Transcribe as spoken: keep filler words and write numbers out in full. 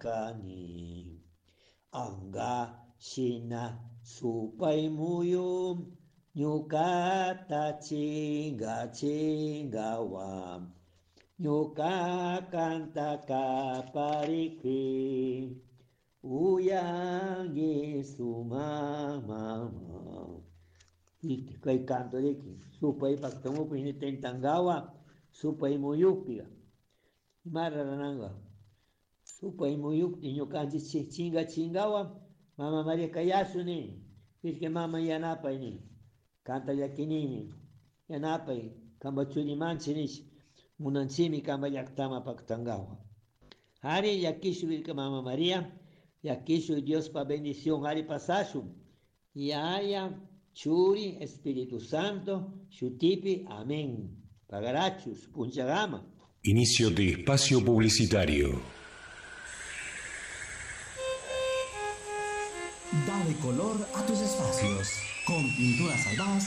Kani anga shina supay muyu ñukata chinga chingawa ñuka kanta kaparikpi uyangi suma mama. Kay canto riki supay paktamupi tentangawa supay muyukpiga ima rurananga supay muyukpi ñukanchik chinga chingawa mama Maria kayasu ni Virgen mama yanapay ni kanta llakinimi yanapay kamba churimanchi nish munanchimi kamba llaktama paktangawa Ari llakishu Virgen mama Maria llakishu Diospa bendición ari pasashun Yaya Churi Espíritu Santo shutipi amén Pagarachus punchagama. Inicio de espacio publicitario. Dale color a tus espacios. Con Pinturas Albaz